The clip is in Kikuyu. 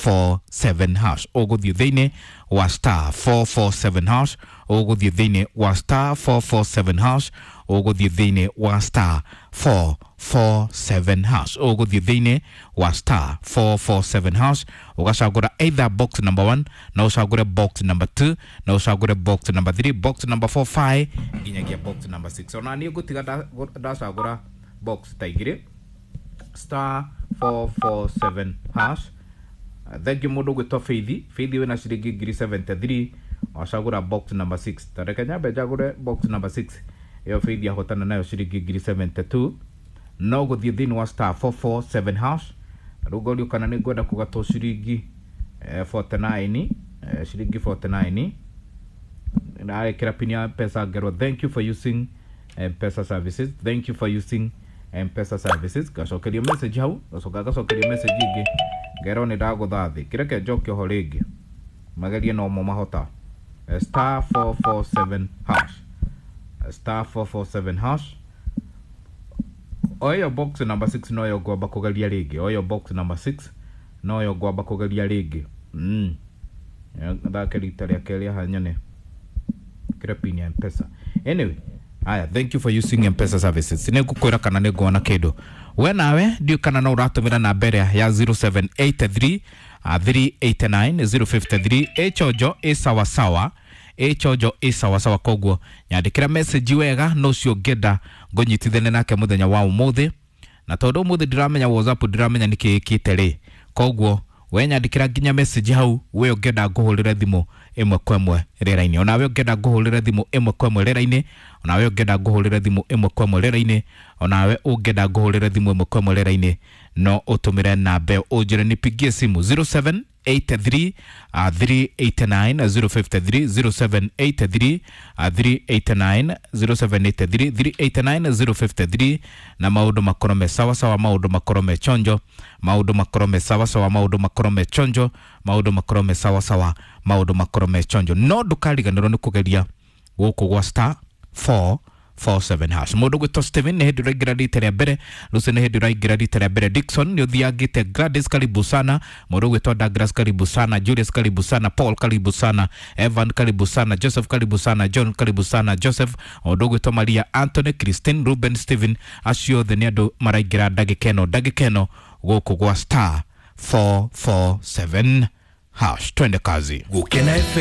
447 hash. Ũgũthiĩ thĩinĩ wa star 447 hash, ũgũthiĩ thĩinĩ wa star 447 hash, ũgũthiĩ thĩinĩ wa star 447 hash, ũgũthiĩ thĩinĩ wa star 447 hash, ũgacagũra either box number 1 na ũcagũre box number 2 na ũcagũre box number 3, box number 4, 5 nginyagia box number 6. Ona niĩ ngũtiga ndacagũra box ta igĩrĩ, star 447 hash. Thank you mũndũ gwĩtwo Feithi. Feithi wĩna ciringi ngiri 73, wacagũra box number 6. Tareke nyambe njagũre box number 6 ĩyo Feithi ahotana nayo ciringi ngiri 72. No gũthiĩ thĩinĩ wa star 447 hash. Rĩu ngorio kana nĩ ngwenda kũgatwo ciringi 49, ciringi 49. Ndarekĩra pin ya Mpesa ngerwo thank you for using Mpesa services, thank you for using Mpesa services. Ngacokerio message hau, ngacoka ngacokerio message ĩngĩ ngerwo nĩ ndagũtha thĩ. Kĩreke njoke oho rĩngĩ magerie no mo mahota. Star 447 hash, star 447 hash. O ĩyo box number 6 noyo ngwamba kũgeria rĩngĩ, o ĩyo box number 6 noyo ngwamba kũgeria rĩngĩ. Thake rita rĩa kerĩ haha nyone kĩra pin ya Mpesa. Anyway, aya, thank you for using Mpesa services. Nĩ ngũkwĩra kana nĩ nguona kĩndũ. We nawe ndiũ kana no ũratũmĩra namba ĩrĩa ya 0783 389 053. Ĩchonjo ĩ sawasawa, ĩchonjo ĩ sawasawa. Koguo nyandĩkĩra message wega no ũcio ũngĩenda ngũnyitithanie nake mũthenya wa ũmũthĩ, na tondũ ũmũthĩ ndiramenya WhatsApp, ndiramenya nĩkĩ ĩkĩte rĩ, koguo we nyandĩkĩra nginya message hau we ũngĩenda ngũhũrĩre thimũ ĩmwe kwa ĩmwe rĩera-inĩ, onawe ũngĩenda ngũhũrĩre thimũ ĩmwe kwa ĩmwe rĩera-inĩ, onawe ũngĩenda ngũhũrĩre thimũ ĩmwe kwa ĩmwe rĩera-inĩ, onawe ũngĩenda ngũhũrĩre thimũ ĩmwe kwa ĩmwe rĩera-inĩ, no ũtũmĩre namba ĩyo ũnjĩre nipigie simu 0783 389 053, 0783 389 0783 389 053, na maũndũ makorwo me sawa sawa, maũndũ makorwo me chonjo, maũndũ makorwo me sawa sawa, maũndũ makorwo me chonjo, maũndũ makorwo me sawa sawa, maũndũ makorwo me chonjo. No ndũkariganĩrwo nĩ kũgeria gũkũ gwa star 447 hash. Mũndũ gwĩtwo Steven nĩ hĩndĩ ũraingĩra rita rĩa mbere, Lucy nĩ hĩndĩ ũraingĩra rita rĩa mbere, Dickson nĩ ũthiangĩte, Gladys karibu sana, mũndũ gwĩtwo Douglas karibu sana, Julius karibu sana, Paul karibu sana, Evan karibu sana, Joseph karibu sana, John karibu sana, Joseph, mũndũ gwĩtwo Maria, Anthony, Christine, Ruben, Steven, acio othe nĩ andũ maraingĩra ndagĩka ĩno, ndagĩka ĩno gũkũ gwa star 447 hash. Twende kazi. Gukena FM.